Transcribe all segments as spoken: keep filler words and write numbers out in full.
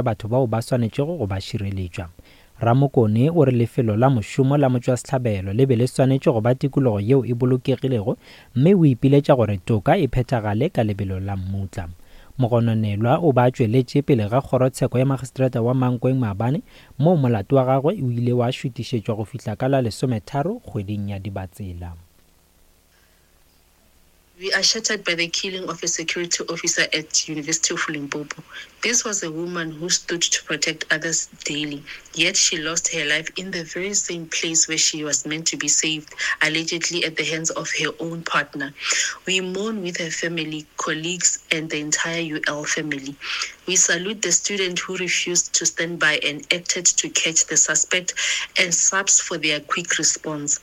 Batho bao ba swanetšego go ba šireletšwa. Ramokone o re lefelo la mošomo la motšwasehlabelo le be le swanetše go ba tikologo yeo e bolokegilego mme o ipiletša gore toka e phethagale ka lebelo la mmutla. Mogononelwa o ba tšweletše pele ga kgorotsheko ya magistrata wa Mankweng maabane moo molato wa gagwe o ile wa šutišetšwa go fihla ka la lesometharo kgweding ya Dibatsela. We are shattered by the killing of a security officer at University of Limpopo. This was a woman who stood to protect others daily, yet she lost her life in the very same place where she was meant to be saved, allegedly at the hands of her own partner. We mourn with her family, colleagues, and the entire U L family. We salute the student who refused to stand by and acted to catch the suspect, and SAPS for their quick response.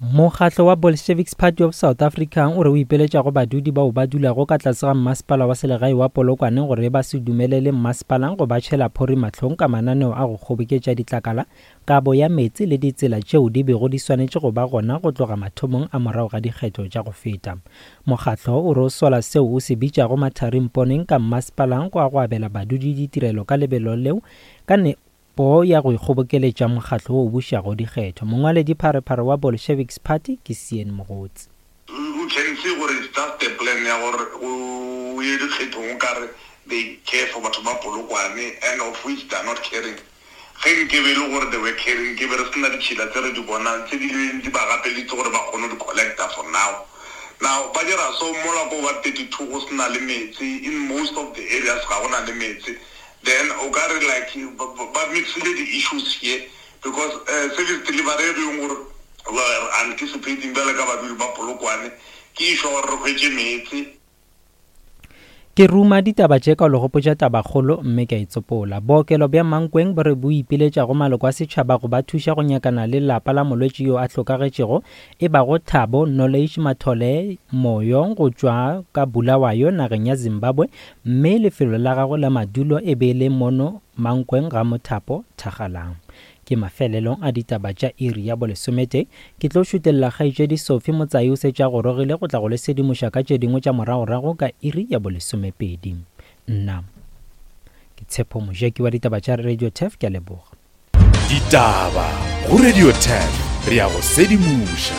Mokgatlo wa Bolsheviks Party of South Africa o re o ipeletša go badudi bao ba dulago ka tlase ga mmasepala wa selegae wa Polokwane gore ba se dumelele mmasepala go ba tšhela phori mahlong ka mananeo a go kgoboketša ditlakala, kabo ya meetse le ditsela tšeo di bego di swanetše go ba gona go tloga mathomong a morago ga dikgetho tša go feta. Mokgatlo o re o sola seo o se bitšago matharimponeng ka mmasepala go a go abela badudi ditirelo ka lebelo leo ka ne po ya go ikgobokeletša mokgatlo wo o bušago dikgetho. Mongwaledi pharephare wa Bolsheviks Party ke Sean Mogotsi. O can see gore it's just a plan ya gore o ye dikgethong o kare they care for batho ba Polokwane, and of which they are not caring. Ge nke be e le gore they were caring, ke be re sena ditšhila tse re di bonang tse di leng di ba gapeleditse gore ba kgone go di collecta for now. Now ba dira so mola ko ba thirty-two go sena le metsi, in most of the areas ga gona le metsi. Then o ka re like ba mixile the issues here because, uh, service delivery e leng gore we are anticipating bjale ka badudi ba Polokwane ke issue gore re hwetše meetse. Ke ruma ditaba tše ka go gopotša tabakgolo mme ke a itsopola. Bookelo bja Mankweng bo re bo ipiletša go maloko a setšhaba go ba thuša go nyakana le lapa la molwetši yo a hlokagetšego e bago Thabo Knowledge Mathole Moyo go tšwa ka Bulawayo nageng ya Zimbabwe, mme lefelo la gagwe la madulo e be le mono Mankweng ga Mothapo Thakgalang. Ke mafelelong a ditaba tša iri ya bolesometee. Ke tlo šutelela kgaetšedi Sophie Motsai o setša gorogile go tla go le sedimoša ka tše dingwe tša moragorago ka iri ya bolesomepedi. Nna ke Tshepo Mojeki wa ditaba tša Radio Turf, ke a leboga. Ditaba go Radio Turf, re ya go sedimoša.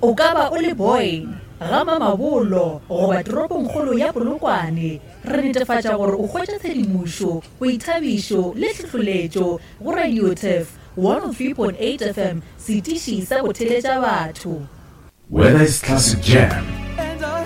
O ka ba o le boy ga Mamabolo goba toropongkgolo ya Polokwane, re netefatša gore o hwetša tshedimošo, boithabišo le tlhohleletšo go Radio Turf one oh three point eight F M, setiši sa go theletša batho. Whether it's classic jam